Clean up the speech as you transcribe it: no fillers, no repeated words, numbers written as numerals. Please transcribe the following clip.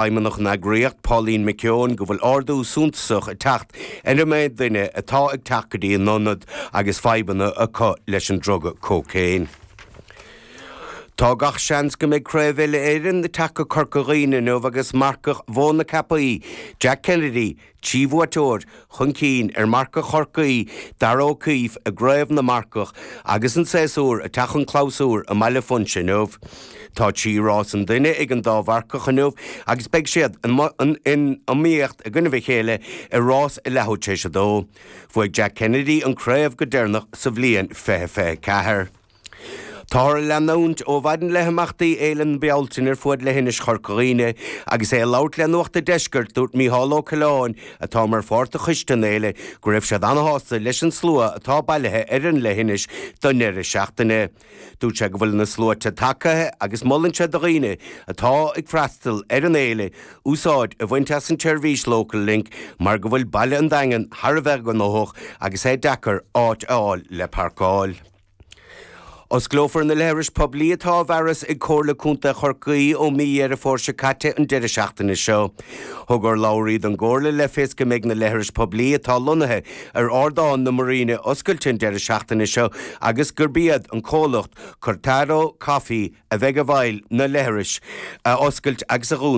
Feidhmeannach an eagraíocht, Pauline McKeown, go bhfuil ardú suntasach ag teacht ar an méid duine atá ag teacht go dtí an ionad agus fadhbanna acu leis an druga cócaon. Tá gach seans go mbeidh Craobh Uile-Éireann ag teacht go Corca Dhuibhne inniu agus marcach Mhóin na Ceapaí, Jack Kennedy, 3 bhuaiteoir chun cinn ar mharcach Chorcaí, Darragh O'Keeffe i gCraobh na Marcach agus an séasúr ag teacht chun clabhsúir i mBaile Phúinse inniu. Tá 3 rás an duine ag an dá mharcach inniu agus beidh siad in iomaíocht i gcoinnibh a chéile i rás a leathuair tar éis a dó. Bhuaigh Jack Kennedy an craobh go deireanach sa bhliain 2024. Táthar ag leanúint ó mhaidin le himeachtaí Fhéile na Bealtaine ar fuaid leithinis Chorca Dhuibhne agus é ag labhairt le Nuacht a' Deiscirt dúirt Mícheál Ó Coileáin atá mar pháirt de choiste an fhéile go raibh siad ana-shásta leis an slua atá bailithe ar an leithinis don ndeireadh seachtaine. Dúirt sé go bhfuil na sluaite tagtha agus molann sé do dhaoine atá ag freastal ar an fhéile úsáid a bhaint as an tseirbhís Local Link mar go bhfuil baile an Daingin thar a bheith gnóthach agus é deacair áit a fháil le parcáil. Osclófar na leithris poiblí atá á bhfearas ag Comhairle Contae Chorcaí ó mí Dheireadh Fómhair seo caite an deireadh seachtaine seo. Thug urlabhraí don gComhairle le fios go mbeidh na leithris poiblí atá lonnaithe ar Ardán na Muiríne oscailte an deireadh seachtaine seo agus gurb iad an comhlacht Cortado Coffee a bheidh i bhfeighil na leithris a oscailt agus a dhúnadh.